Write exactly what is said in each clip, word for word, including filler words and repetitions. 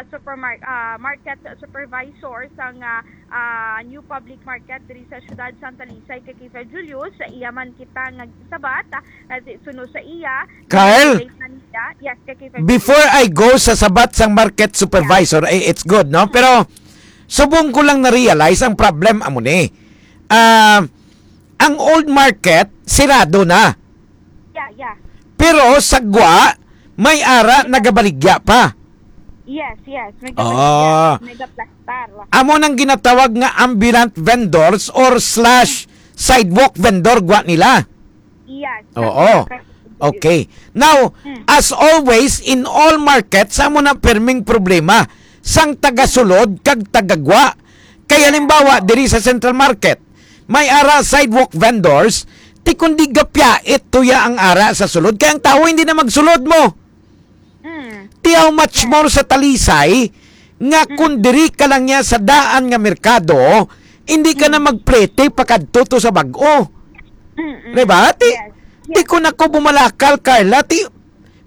supermar-, ah, market supervisor sang, ah, ah, New Public Market diri sa siyudad sang Talisay, kay K five Julius, sa iya man kita nga sabat, ah, suno sa iya, Kyle, yes, kay K five Julius. Before I go sa sabat sang market supervisor, eh, it's good, no? Pero subong ko lang na-realize ang problem amo ni. Ah, ang old market sirado na. Yeah, yeah. Pero sa gwa, may ara nagabaligya pa. Yes, yes. May Ah. Gabaligya, may gaplastar. Amo nang ginatawag nga ambulant vendors or slash sidewalk vendor gwa nila. Yes. Oo. Okay. Now, Mm. as always, in all markets, amo na perming problema sang tagasulod kag tagagwa. Kay halimbawa, diri sa Central Market, may ara sidewalk vendors, ti kundi gapyait tuya ang ara sa sulod, kay ang tawo hindi na magsulod mo. Mm. Ti how much more sa Talisay, nga Mm. kung diri ka lang niya sa daan nga merkado, hindi ka na Mm. magplete pakadto to sa bag-o. Mm-mm. Diba? Ti, Yes. ti Yes. Kung ako bumalakal, Carla, ti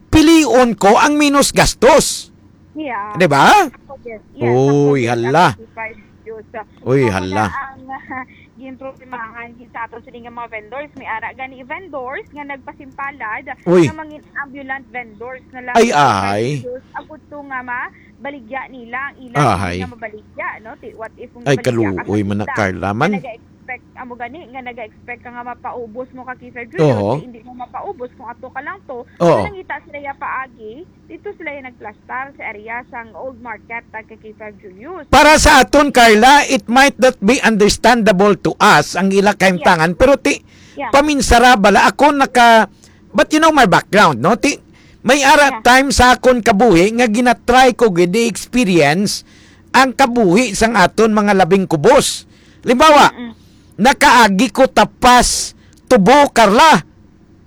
pilion ko ang minus gastos. Yeah. Diba? Ako din. Yes, ako Uy, din. Hala. Ako si Five Juice. Uy, Ako hala. na ang, ah, ginproblemahan gid sa aton sini nga mga vendors. May ara gani vendors nga nagpasimpalad Uy. nga mangin ambulant vendors na lang Ay, sa ahay. Five Juice. Abot to nga ma, baligya nila ang ilang Ahay. Nga mabaligya, no? Ti-, what if kung Ay, mabaligya ka sa kaluoy man na, tinda? Carla, man. Nga naga-expect, amo gani, nga naga-expect ka nga mapaubos mo ka, Kisa Julius, Oho. Ti hindi mo mapaubos kung ato ka lang to. Oo. So, nangita sila ya paagi, dito sila yung nagplastar sa area sang Old Market, tag kay K five Julius. Para sa aton, Carla, it might not be understandable to us ang ila kahimtangan, Yeah. pero ti, Yeah. paminsara bala ako naka, but you know my background, no? Ti, may ara Yeah. time sa akon kabuhi nga ginatry ko gid i-experience ang kabuhi sang aton mga labing kubos. Limbawa, Mm-mm. nakaagi ko tapas tubo, Carla.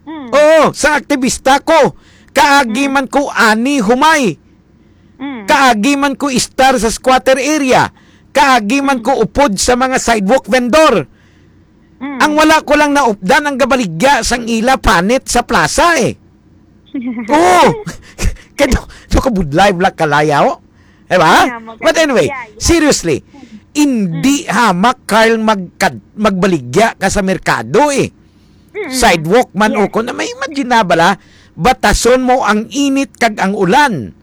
Mm. Oo, sang aktivista ko. Kaagi Mm. man ko ani humay. Mm. Kaagi man ko istar sa squatter area. Kaagi man Mm. ko upod sa mga sidewalk vendor. Mm. Ang wala ko lang naupdan ang gabaligya sang ila panit sa plaza eh. Oo. Kaya to, to kabudlay, Black Kalayaw. Diba? Yeah, maganda. But anyway, Yeah, yeah. seriously, Mm. hindi hamak, Carl, magkad-, magbaligya ka sa merkado eh. Mm-mm. Sidewalk man Yeah. o kung na may imagine na bala, batason mo ang init kag ang ulan.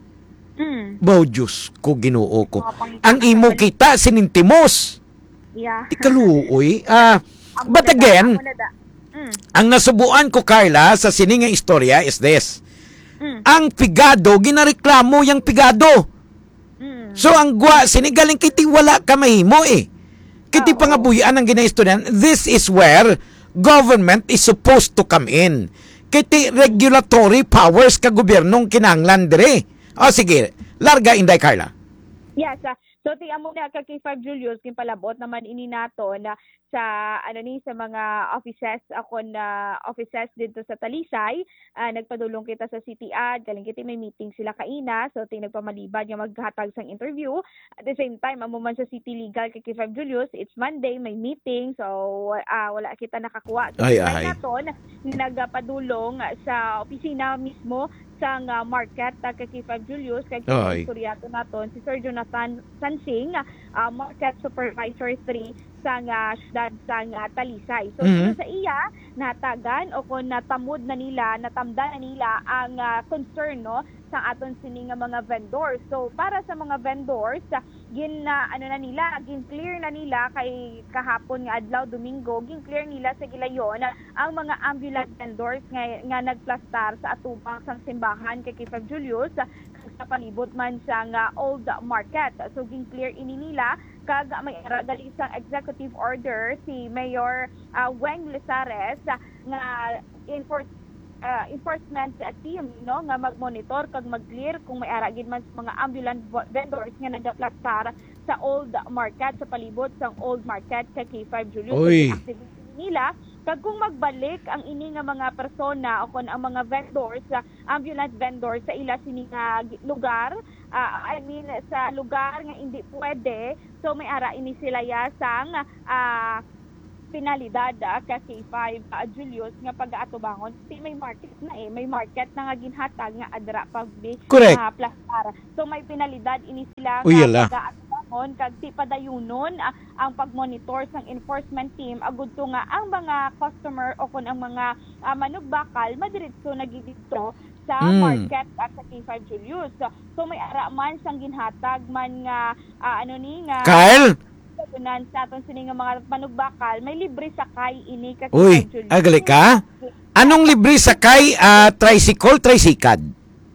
Mm. Baw, Diyos ko, Ginoo ko. Mga pangita Ang ka imo sa kita, sinintimos. Yeah. Ti kaluoy. Ah, Ang but maganda, again, ang maganda. Mm. ang nasubuan ko, Carla, sa sini nga istorya is this. Mm. Ang pigado, ginareklamo yang pigado. Mm. So, ang gwa, sini galing kay ti wala ka mahimo eh. Kay ti Ah, oo. pangabuhian ang ginaistorya. This is where government is supposed to come in. Kay ti regulatory powers ka gobyerno ang kinahanglan dire. O sige, larga, Inday Carla. Yes, ah, so ti amo na ka K five Julius, ginpalabot naman ini nato na sa, ano ni, sa mga offices, ako na offices dito sa Talisay. Ah, nagpadulong kita sa City Ad, galing kita may meeting sila kaina. So, ti nagpamalibad nga maghatag sang interview. At the same time, amo man sa City Legal kay K five Julius, it's Monday, may meeting. So, ah, wala kita nakakuha. So, Ay, try ay. naton, nagpadulong sa opisina mismo sang, ah, market, ah, kay K five Julius, kay Ay. istorya to naton si Sir Jonathan Sansing, ah, Market Supervisor three sang, ah, syudad sang, ah, Talisay. So, Mhm. suno sa iya, natagan o kung natamod na nila, natamdan na nila ang, ah, concern, no, sa aton sini nga mga vendors. So, para sa mga vendors, ah, gin, ah, ano na nila, gin-clear na nila kay kahapon nga adlaw, Domingo, gin-clear nila sa gilayon ang mga ambulant vendors nga, nga nagplastar sa atubang sang simbahan kay K five Julius, kag sa palibot man sang, ah, Old Market. So, gin-clear ini nila, kag may ara gali sang executive order si Mayor, ah, Weng Lizares, ah, nga enfor-, ah, enforcement team, no, nga mag-monitor kag mag-clear kung may ara gid man sa mga ambulant vo-, vendors nga nagaplastar sa Old Market, sa palibot sang Old Market kay K five Julius. Uy. Kag activity nila, kag kung magbalik ang ini nga mga persona o kon ang mga vendors, ah, ambulant vendors sa ila sini nga gi-, lugar, ah, I mean, sa lugar nga hindi pwede, so may ara ini sila ya sang, ah, penalidad, ah, ka K five, ah, Julius, nga pag-aatubangon. Kasi may market na eh. May market na nga ginhatag nga adra pag bi-, Correct. ah, plastar. So, may penalidad ini sila Uy, nga yala. pag-aatubangon, kag di padayunon, ah, ang pag-monitor sang enforcement team, agud to nga ang mga customer o kun ang mga, ah, manugbakal, madiretso na gid dito sa Mm. market at sa K five Julius. So, so may ara man sang ginhatag man nga, ah, ano ni, nga Kyle? Sa aton sini nga mga manugbakal, may libre sakay ini ka Uy, K five Julius. Agali ka? Anong libre sakay, ah, tricycle, tricycad?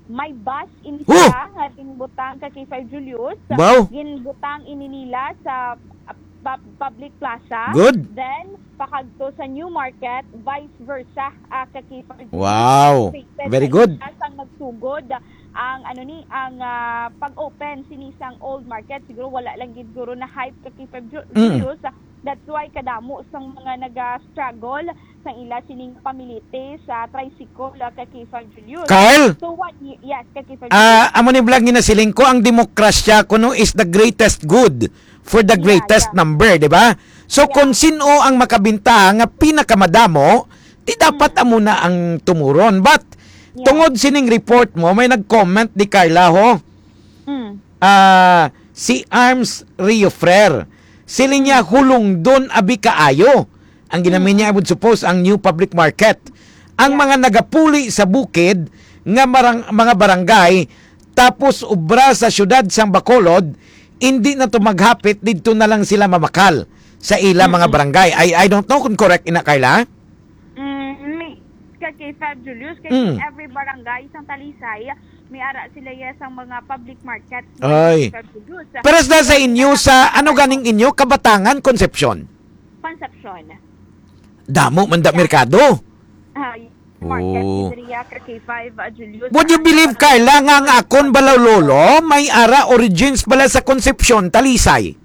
May bus ini Oh! siya nga ginbutang ka K five Julius. Wow. Ginbutang ini nila sa, ah, pub-, public plaza. Good. Then, pakadto sa New Market, vice versa, ah, ka K five Julius. Wow. Wait, Very wait, good. Sang nagsugod, ang ano ni, ang, ah, pag-open sini sang old market, siguro wala lang gid guro na hype ka K five Ju-, Mm. Julius. That's why kadamo sang mga naga-struggle sang ila sining pamilite sa tricycle, ah, ka K five Julius. Carl? So, what y-, yes, ka K five Ah, Julius. Amo ni vlog nga nasiling ko, ang demokrasya kuno is the greatest good for the Yeah, greatest yeah. number, di ba? So, Yeah. kung sino ang makabintaha nga pinakamadamo, di dapat Mm. amo na ang tumuron. But, Yeah. tungod sining report mo, may nag-comment di Carla, ho? Mm. Ah, si Arms Riofrer. Siling niya, Mm. hulungdon abi kaayo. Ang ginami Mm. niya, I would suppose, ang new public market. Ang Yeah. mga nagapuli sa bukid nga marang-, mga barangay, tapos ubra sa siyudad sang Bacolod, hindi na to maghapit, didto na lang sila mamakal sa ila mga Mm-mm. barangay. I, I don't know kung correct ina, Carla. Mm, may, ka K five Julius, kay Mm. every barangay sang Talisay, may ara sila ya sang mga public market. Ay. Ka K five Julius. Pero sa, sa inyo, sa ano ganing inyo, Kabatangan, Concepcion? Concepcion. Damo man da Yeah. merkado. Ah, y-, market Oh. area ka K five, ah, Julius. Would you Ano believe, ba na Carla, nga ang akon bala lolo, may ara origins bala sa Concepcion, Talisay?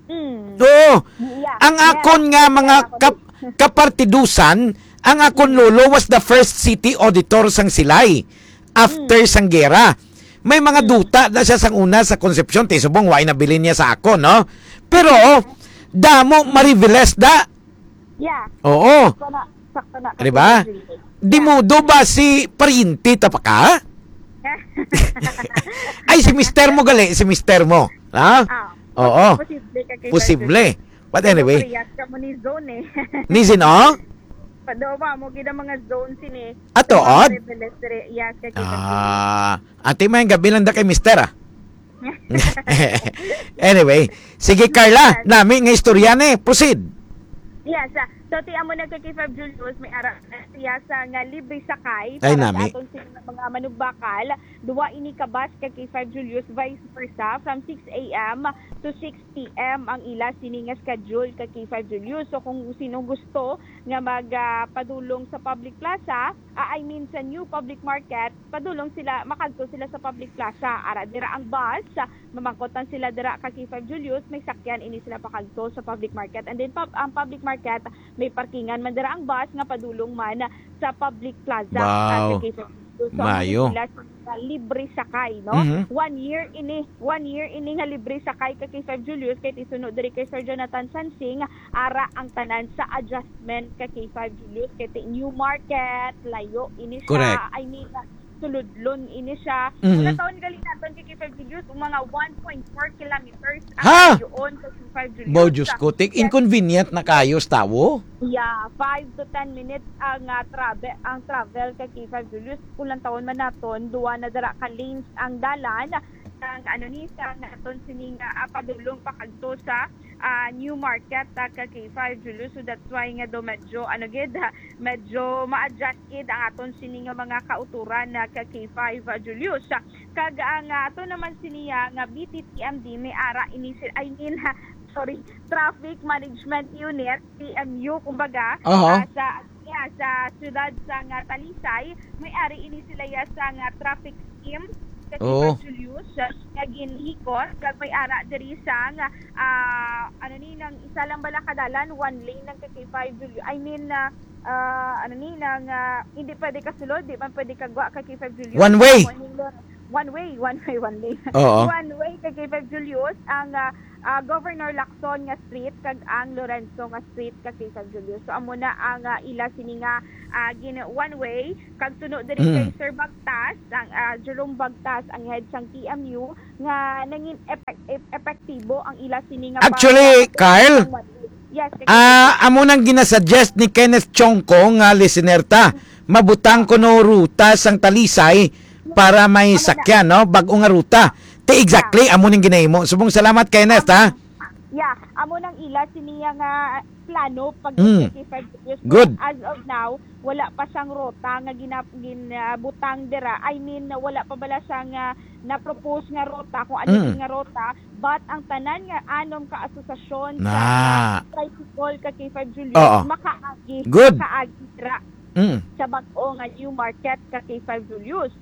Mm. Oo. Yeah. Ang Yeah. akon nga mga Yeah. kap-, kapartidusan, ang akon Mm. lolo was the first city auditor sang Silay after Mm. sang gera. May mga Mm. duta na siya sang una sa Concepcion, ti subong wa nabilin niya sa akon, no? Pero, damo mariveles da. Yeah. Oo. Sakto na, sakto na. Di ba? Di mo do ba si pariente ta pa ka? Ay, si mister mo gali, si mister mo. Ha? Ah, Oo. posible ka kay Posible. But anyway. Pero parehas ka mo ni Zone eh. Ni Zin, oh? Padawa mo, gid ang mga Zone sini. Ato, Mga odd? Rebeldes re-, yes, ka kay Ah, ate, may gabi lang da kay mister, ah. Anyway, sige, Carla, Yes. nami nga istorya ni. Proceed. Yes, ah, so ti amo na ka K five Julius, may ara na siya sa nga libre sakay Ay, para nami. sa aton sini nga mga manugbakal. Duwa ini ka bus ka K five Julius, vice versa, from six A M to six P M ang ila sini nga schedule ka K five Julius. So kung sino gusto nga mag, ah, padulong sa public plaza, ah, I mean sa new public market, padulong sila, makadto sila sa public plaza. Ara dira ang bus, mamangkot lang sila dira ka K five Julius, may sakyan ini sila pakadto sa public market. And then pub-, ang public market, may parkingan man dira ang bus nga padulong man sa public plaza. Wow. Sa K five Julius. So, Mayo. Sila sa libre sakay, no? Mhm. One year ini, one year ini nga libre sakay ka K five Julius, kay ti suno diri kay Sir Jonathan Sansing, ara ang tanan sa adjustment ka K five Julius, kay ti New Market, layo ini siya. Correct. I mean, suludlon ini siya. Mhm. Una taon gali naton kay K five Julius, mga one point four kilometers ang Ha? layoon sa K five Julius. Bo, Diyos ko, tik, Yes. inconvenient na kayo sa tawo. Yeah, five to ten minutes ang, ah, trabe-, ang travel ka K five Julius. Kung lang taon man naton, duwa na dara ka lanes ang dalan. Ang ano ni, sa naton sining, ah, padulong pakadto sa, ah, New Market, ah, ka K five Julius. So that's why nga do medyo, ano gid, ha, medyo ma-adjust gid ang aton sini nga mga kauturan na ka K five, ah, Julius. Kag ang, ah, ato naman sini, ah, nga B T T M D may ara ini si-, I mean, ha, sorry, Traffic Management Unit, T M U, kumbaga, Aha. ah, sa, yeah, sa siyudad sa nga Talisay, may ari ini sila ya sa nga traffic scheme sa Oo. Julius, ah, nga ginhikot, kag may ara diri sa nga, ah, ano ni, nang isa lang bala ka dalan, one lane lang ka K five Julius. I mean, ah, ah, ano ni, nang, ah, hindi pwede ka sulod, di man pwede ka gwa ka K five Julius. One way. One way, one way, one way. Oo. One way ka K five Julius, ang, ah, ah, Governor Lacson nga street kag ang Lorenzo nga street, ka K five Julius. So, amo na ang, ah, ila sini nga, ah, gin-, one way. Kag suno diri Mm. kay Sir Bagtas, ang, ah, Jerome Bagtas, ang head sang T M U, nga nangin epek-, ep-, epektibo ang ila sini nga Actually, pag-, Carl, ang one way. Yes, kay ah, amo nang ginasuggest ni Kenneth Chongco nga listener ta. Mabutang kuno ruta sang Talisay para may Amo na. sakyan, no? Bag-o nga ruta. Ti exactly, amo ning ginahimo. Subong salamat, Kenneth, ha? Yeah, amo nang ila siniya nga plano pag Mm. K five Studios. Good. As of now, wala pa siyang rota nga gina-, ginabutang dira. I mean, wala pa bala siya nga na-propose nga rota, kung ano Mm. nga rota. But ang tanan nga anom ka asosasyon Na. sa tricycle, ka K five Julius, Oo. makaagi, Good. makaagi dira Mm. sa bag-o nga new market, ka K five Julius.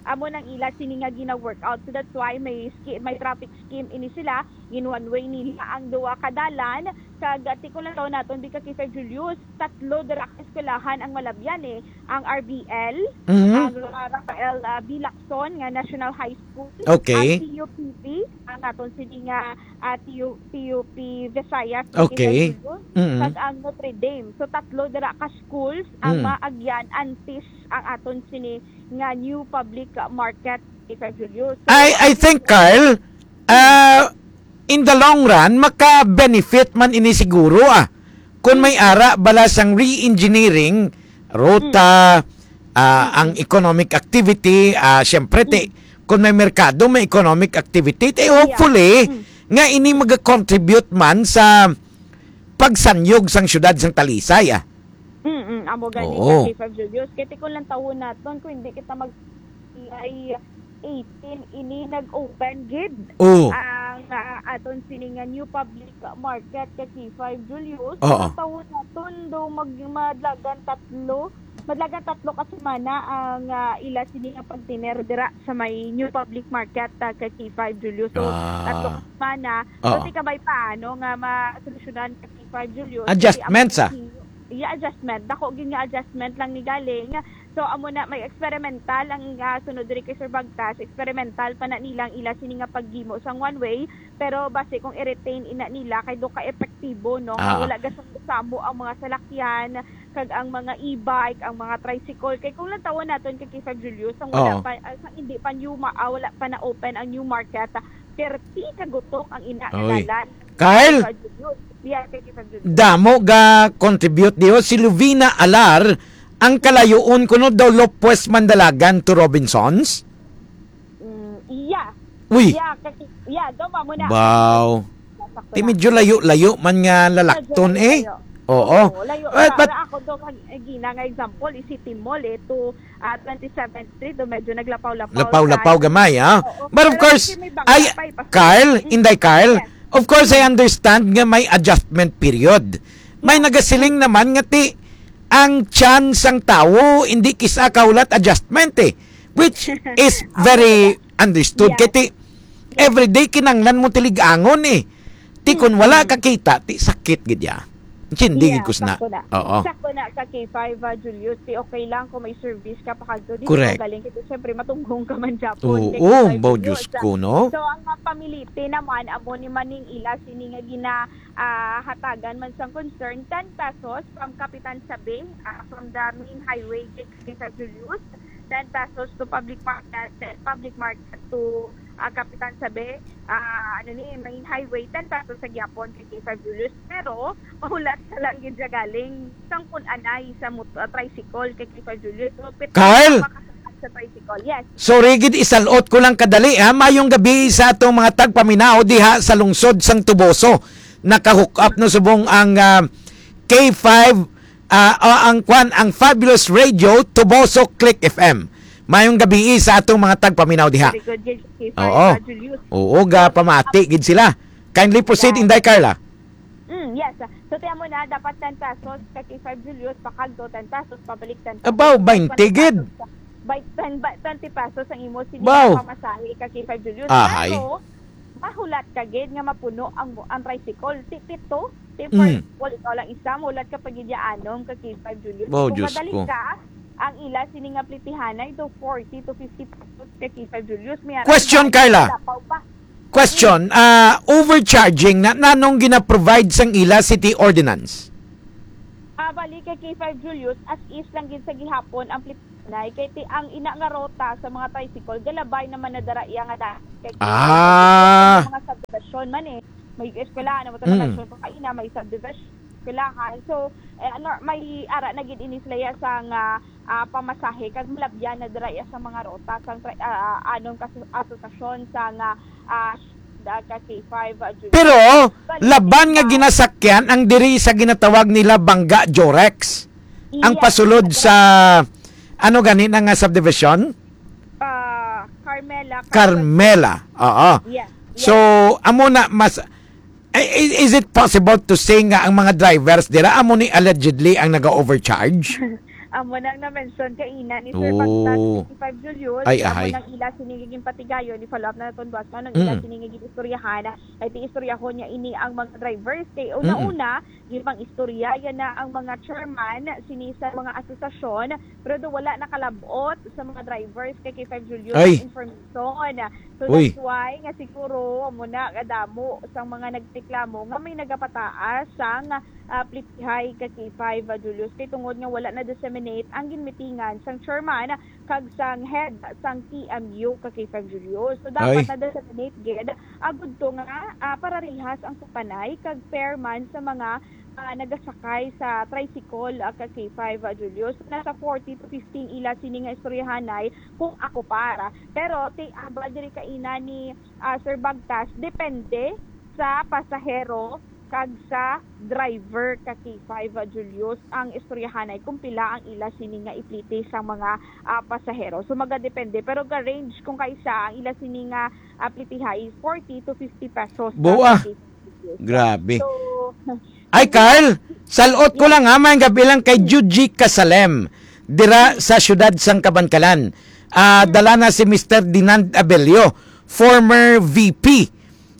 Amo nang ila sini nga gina-work out. So that's why may ski-, may traffic scheme ini sila. Gin one way nila ang duha ka dalan. Kag, ah, ti-, kung lang naton, di, ka K five Julius, tatlo dira ka eskwelahan ang malabyan, eh. Ang R B L, Mhm. ang, ah, Rafael, ah, B. Lacson nga National High School, Okay. ang T U P V, ang aton sini nga, ah, T U, T U P Visayas, Okay. K five Julius, Mhm. kag ang Notre Dame. So, tatlo dira ka schools ang Mm. maagyan antes ang aton sini nga new public market, K five Julius. So, I, I think, Carl, ah, in the long run, maka-benefit man ini siguro, ah. Kung may Mm. ara bala sang re-engineering, rota, Mm. ah, Mm. ang economic activity, ah, syempre, ti, Mm. kung may merkado, may economic activity, ti, Yeah. hopefully, Mm. nga ini mag-contribute man sa pagsanyog sang syudad sang Talisay, ah. Mm, amo gani Oo. ka, K five Julius. Kay ti kung lantawon naton, kung hindi kita mag-, ay eighteen ini nag-open gid Oh. ang, ah, aton sini nga new public market ka K five Julius. Oo. Kung lantawon naton, do mag-, madlagan tatlo, madlagan tatlo ka semana ang, ah, ila sini nga pagtiner dira sa may new public market, ah, ka K five Julius. So, Ah. tatlo ka semana. Oo. So, ti kabay paano nga masolusyonan ka K five Julius? Kasi ang Adjustments, ah. Iya, adjustment. Dako gyud nga adjustment lang ni galing. So, amo na, may experimental ang, ah, sunod diri kay Sir Bagtas. Experimental pa na nilang ila sini nga paghimo sang one way. Pero basi kung i-retain ina nila, kay do ka epektibo, no? Nga Ah. wala gasamo ang mga salakyan, kag ang mga e-bike, ang mga tricycle. Kay kung lantawon naton kay K five Julius, ang wala Oo. pa, ah, sa hindi pa new ma-, ah, wala pa na-open ang new market, ah, thirty ka gutok ang ina nga Oy. dalan. Kyle, K five Julius. Yeah, kay K five Julius. Damo ga contribute diho si Lovina Alar, ang kalayuon kuno daw Lopez Mandalagan to Robinsons? Mm, iya. Uy. Iya, kasi, iya, daw mo na. Baw. Sakto Ti na. Medyo layo-layo man nga lalakton Medyo eh. layo. Oo. Oo, layo. But, Sa, but sa ako daw, kag, eh, gina nga example, is City Mall eh, to, ah, twenty-seventh Street, do medyo naglapaw-lapaw Lapaw-lapaw sa gamay, ah. Oo. But of Pero course, kasi may bangka ay, pa, eh, pa-, Carl, Mm. Inday Carl, Yes. of course, I understand nga may adjustment period. May Yes. nagasiling naman nga ti, ang tiyan sang tawo, hindi kisa kahulat adjustment eh. Which is Ako very talaga. understood. Yes. Kay ti, everyday kinanglan mo tilig-angon eh. Ti kun wala Mm-mm. ka kita, ti sakit gid ya. Intindi gid Yeah, ko sina. sakto na. Oo. Sakto na ka K five, ah, Julius. Ti okay lang kung may service ka pa kadto. Di Correct. ka galing. Kay ti, syempre, matunghong ka man japon Oo, kay K five, bao, Julius. Diyos ko, no? So, ang mga pamilite naman, amo ni maning ila sini nga gina-, ah, hatagan man sang concern, ten pesos from Kapitan Sabe, ah, from the main highway, K five Julius, ten pesos to public market, then public market to, ah, Kapitan Sabe, ah, ano ni, main highway, ten pesos sa gyapon kay K five Julius. Pero, mahulat sa lang gid siya galing, sang kun anay sa mot-, ah, tricycle kay K five Julius. So, pit-, Carl! makasakay sa tricycle. Yes. Sorry gid, isalot ko lang kadali, ha. Mayong gabi sa atong mga tagpaminaw diha sa lungsod sang Toboso. Naka-hook up no subong ang, ah, K five, ah, ah, ang kwan, ang Fabulous Radio, Toboso Click F M. Mayong gabi sa atong mga tagpaminaw diha. Very good, yes, K five, Oo. ah, Julius. Oo, ga pamati gid sila. Kindly proceed, Yes. Inday Carla. Mm, yes. So, tiyan mo na, dapat ten pesos ka K five, Julius, pakadto ten pesos, pabalik ten pesos. Abaw, twenty gid. By ten, by twenty pesos ang imo sini Baw. nga pamasahe ka K five, Julius. Ahay. Pero, mahulat ka gid nga mapuno ang, ang tricycle. Ti pito, ti Mm. four, ikaw lang isa, mahulat ka pa gid ya anom ka K five, Julius. Baw, Kung Diyos madali ko. ka, ang ila sini nga plitihanay do forty to fifty pesos ka K five, Julius. May ara Question, na Carla. lapaw pa. Question, ah, overcharging na, nanong gina-provide sang ila city ordinance? Ah, bali kay K five Julius, as is lang gid sa gihapon ang plitanay, kay ti ang ina nga rota sa mga tricycle, galabay naman na dara iya nga daan. Kay Ah. Mga subdivision man eh. May eskwelahan, naman Mm. Sa kaina, may subdivision, eskwelahan. So, eh, ano, may ara na gid ini sila iya sa nga, ah, pamasahe, kag malabyan na dira iya sa mga rota, sa tra-, ah, ah, anon ka asosasyon sa nga, ah, da-, ka K five, ah, Julius. Pero, Bali, laban nga ah, ginasakyan ang diri sa ginatawag nila Bangga Jorex. Ang Iya, pasulod sa, ano gani na nga subdivision? Ah, Carmela, Carmela. Carmela, oo. Yes, So, yes. Amo na, mas, i-, i-, is it possible to say nga ang mga drivers dira amo ni allegedly ang naga-overcharge? Amo nang na-mention kaina ni Sir Oh. Bagtas, K five Julius, Ay, amo ahay. Nang ila sini nga ginpatigayon, i-follow up na naton buwas, nganong ila Mm. Sini nga ginistoryahan, kay ti istoryahon niya ini ang mga drivers, kay Mm. Una-una, gipang-istorya yana ang mga chairman sini sa mga asosasyon, pero do wala nakalab-ot sa mga drivers kay K five Julius Ay. Ang information. So, Uy. That's why nga siguro amo na kadamo sang mga nagreklamo nga may nagapataas sang, ah, plitihay ka K five, ah, Julius, kay tungod nga wala na-disseminate ang ginmitingan sang chairman kag sang head sang T M U ka K five Julius. So, dapat Ay. Na-disseminate gid agud to nga, ah, pararihas ang sukanay kag fair man sa mga, ah, nagasakay sa tricycle, ah, ka K five, ah, Julius. Nasa forty to fifty ila sini nga istoryahanay kung ako para. Pero ti-, hambal diri kaina ni, ah, Sir Bagtas, depende sa pasahero kag sa driver ka K five, ah, Julius, ang istoryahanay kung pila ang ila sini nga ipliti sa mga, ah, pasahero. So, magadepende. Pero ga-range kung kaisa ang ila sini nga, ah, plitihay, forty to fifty pesos. Bua. Grabe. So, Ay, Carl, salot ko lang ha, may gabi lang kay Juji Kasalem, dira sa siyudad sang Kabankalan. Ah, dala na si Mister Dinand Abelio, former V P,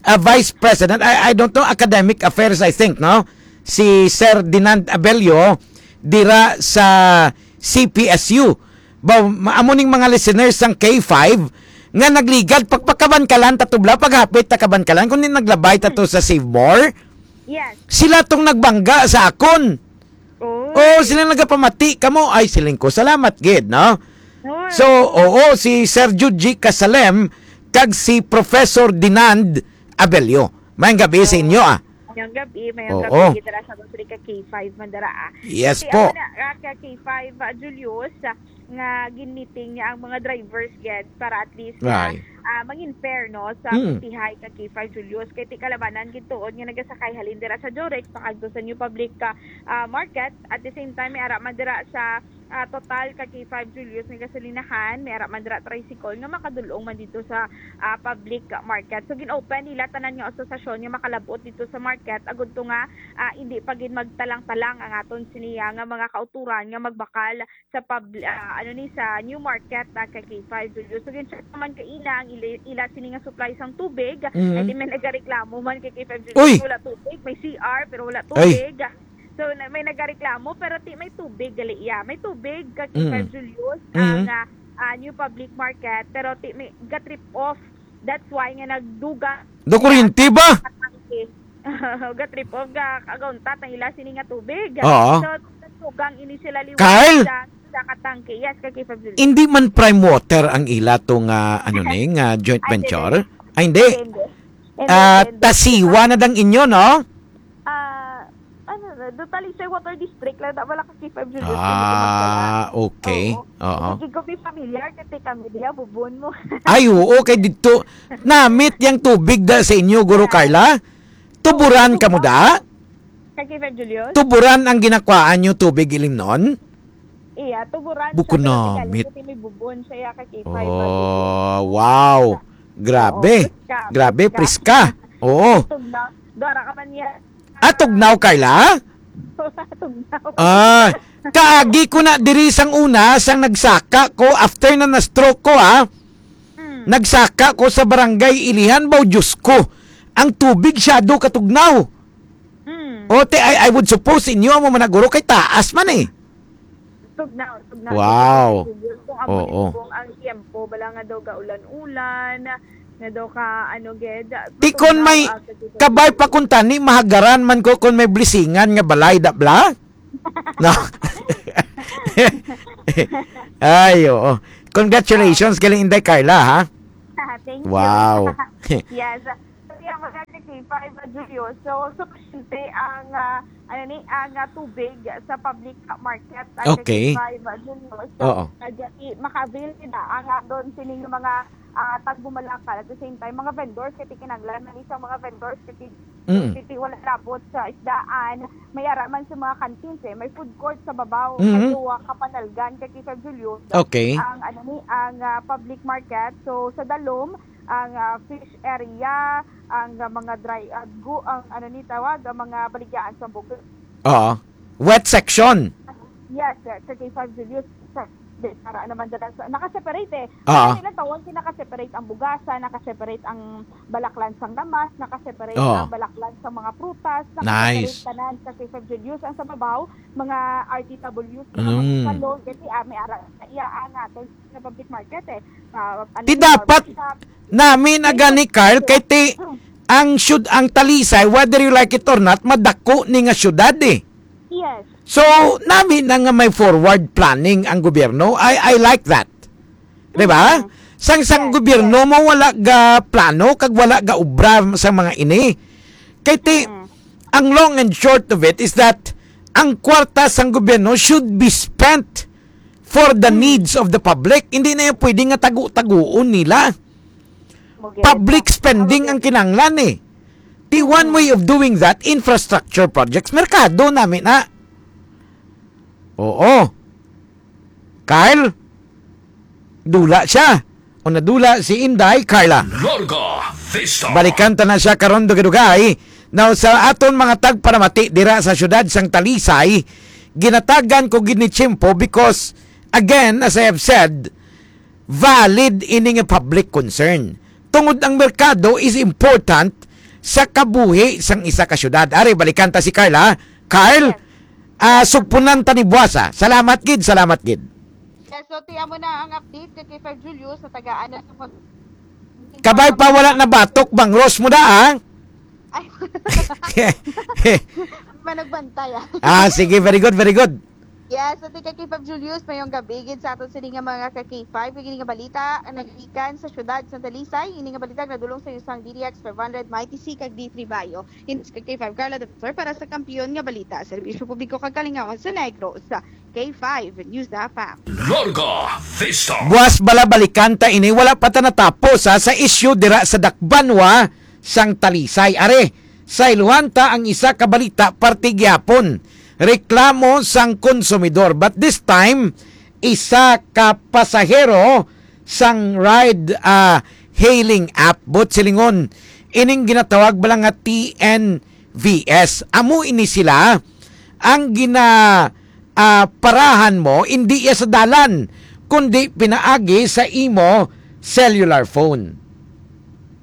ah, Vice President, I, I don't know, Academic Affairs, I think, no? Si Sir Dinand Abelio, dira sa C P S U. Ba, ma-, amo ning mga listeners sang K five nga nagligad pagpakabankalan ta tubla paghapit ta kabankalan kundi naglabay ta to sa Save More. Yes. Sila tong nagbangga sa akon. Oh. Oh, sila nagapamati kamo. Ay, siling ko, salamat gid, no? Oh. So, oo, si Sir Juji Kasalem kag si Professor Dinand Abelio. Mayang gabi sa inyo, ah. Mayang gabi, mayang Oo. Gabi, dira sa Basilica K five man dira, ah. Yes Kasi po. Ako na, ah, ka K five, ah, Julius, ah, nga gin-meeting niya ang mga drivers gid para at least, ah, Right. Ah, mangin fair, no, sa Mm. Pitihay ka K five Julius. Kay ti kalabanan gid tuod nga nagasakay halin dira sa Jorex, pakadto sa New Public, ah, ah, Market. At the same time, may ara man dira sa, ah, Total ka K five Julius nga gasolinahan, may ara man dira tricycle nga makadulong man dito sa, ah, public market. So, gin-open nila tanan nga asosasyon nga makalabot dito sa market, agud to nga, ah, hindi pa gid magtalang-talang ang aton siniya nga mga kauturan nga magbakal sa pub-, ah, ano ni, sa New Market, ah, ka K five Julius. So, gin-check naman kaina ang ila, ila sini nga supply sang tubig. Mhm. Ay, di may nagareklamo man kay K five Julius. Uy! Wala tubig, may C R pero wala Ay. Tubig. So, na, may nagareklamo, pero ti may tubig, gali iya. May tubig ka K five Mm. Julius, Mm. Ang, ah, ah, New Public Market, pero ti may ga-trip off. That's why nga nagdugang Do kuryente ba? Katangke. Ga-trip off, ga, kagauntat ang ila sini nga tubig. Oo. So, nagdugang ini sila liwat Kyle? Sa, sa katangke. Yes, ka K five Julius. Hindi man Prime Water ang ila to nga, ano ni, nga joint Ay, hindi, venture? hindi. Ay, hindi. Hindi, hindi. Hindi, Ah, hindi, hindi. Tasiwa na dang inyo, no? Ah, ano na, do Talisay Water District lang, da, wala ka K five Julius, hindi ko magdala. Ah, okay. Oo. Oo. Hindi ko be familiar, kasi kami diya, bubon mo. Ay, oo, kay dito, namit yang tubig da sa inyo, Guro Yeah. Carla? Tuburan ka mo da? Ka K five Julius? Tuburan ang ginakwaan nyo tubig ilimnon? Iya, tuburan Buko siya, pero namit. Tigalig, may bubon siya, ya, ka K five, Oh, wow. Grabe. Oo, priska, Grabe, priska. priska. Oo. Tugnaw. Dara ka man niya. Ah, tugnaw, Carla? Tugnaw. Ah, kaagi ko na diri sang una, sang nagsaka ko, after na na-stroke ko, ah. Hmm. Nagsaka ko sa barangay Ilihan, baw, Diyos ko. Ang tubig, syado katugnaw. Hmm. O, te, I, I would suppose inyo, amo man na, guro, kay taas man, eh. Tugnaw, tugnaw. Wow. Kung amo Oo. Ni, kung ang tiempo, bala nga daw gaulan-ulan, Nga daw ka, ano, gid, Ti kon matugnaw, may ah, kabay pa kun tani, mahagaran man ko kon may blisingan nga balay, da bla? No? Ay, oo. Congratulations, galing Inday Carla, ha? Thank you. Wow. Yes. Kaya mga ka-K five, ah, Julio. So, sufisyente ang, ah, ano ni, ang, ah, tubig sa public market, ah, Okay. ka-K five, ah, Julio. So, Oo. ah, di, maka-avail sila ang, ah, doon sining mga, ah, tagbumalakal. At the same time, mga vendors, kay kinahanglan man isang mga vendors, kay Mm. kay wala labot sa isdaan. May ara man sa mga canteens, eh. May food court sa babaw, Mm. may duwa ka panalgan, ka-K five, Julio. Okay. Ang, ano ni, ang, ah, public market. So, sa dalom, ang, ah, fish area, ang, ah, mga dry, ah, gu-, ang, ano ni tawag, ang mga baligyahan sa bukid. Oo. Wet section. Yes, sir. Sa K five Julius, sir. Di, para naman dala sa, naka-separate, eh. Ah. Ang ilang tawag, naka-separate ang bugasa, naka-separate ang balaklan sang lamas, naka-separate Oo. ang balaklan sa mga prutas, naka-separate Nice. tanan sa K five Julius. Ang sa babaw, mga R T Ws, mga Mm. magsalon, kasi, ah, may ara, iya, ah, natin sa public market, eh. Ah, ano Ti yun, dapat shop. Nami na gani, Carl, kay ti ang syud-, ang Talisay, whether you like it or not, madako ni nga syudad, eh. Yes. So, nami na nga may forward planning ang gobyerno. I, I like that. Di ba? Mm. Sang, sang Yes, gobyerno yes. mo wala ga plano, kag wala ga obra sa mga ini. Kay ti, Mm. ang long and short of it is that ang kwarta sang gobyerno should be spent for the Mm. needs of the public. Hindi na yan pwede nga tagu-taguon nila. Mo get Public it. spending Mo ang get it. kinahanglan, eh. The one way of doing that, infrastructure projects. Merkado nami na. Oo. Carl? Dula siya. O nadula si Inday, Carla. Larga Vista. Balikan ta na siya karon, dugay-dugay. Now, sa aton mga tagparamati dira sa siyudad sang Talisay, ginatagan ko gid ni Chimpo because, again, as I have said, valid ini nga public concern. Tungod ang merkado is important sa kabuhi sang isa ka syudad. Ari, balikan ta si Carla. Carl, Yes. ah, sugpunan ta ni buwas, ah. Salamat gid, salamat gid. Yes, so, ti amo na ang update kay K five Julius sa tagaan na sa pag- Kabay pa wala na batok, bangros mo da, ah. Ay. Managbantay, ah. Ah, sige, very good, very good. Yes, so, ti kay K five Julius, mayong gabi gid sa aton sini nga mga ka-K five. Kag ini nga balita ang nagikan sa siyudad sa Talisay. Ini nga balita nadulong sa isang D D X five hundred, Mighty C, kag D three Bayo. Ini si K five Carla Defensor para sa Kampiyon nga Balita, Serbisyo Publiko kag Kalingawan sa Negros, K five News F M. Larga Vista. Buwas bala balikan ta ini, wala pa ta natapos, ha, sa isyu dira sa Dakbanwa sang Talisay. Are, sayluhan ta ang isa ka balita parte gyapon. Reklamo sang konsumidor, but this time isa ka pasahero sang ride, ah, hailing app, buot silingon, ining ginatawag bala nga T N V S. Amo ini sila ang gina, ah, parahan mo, indi iya sa dalan, kundi pinaagi sa imo cellular phone.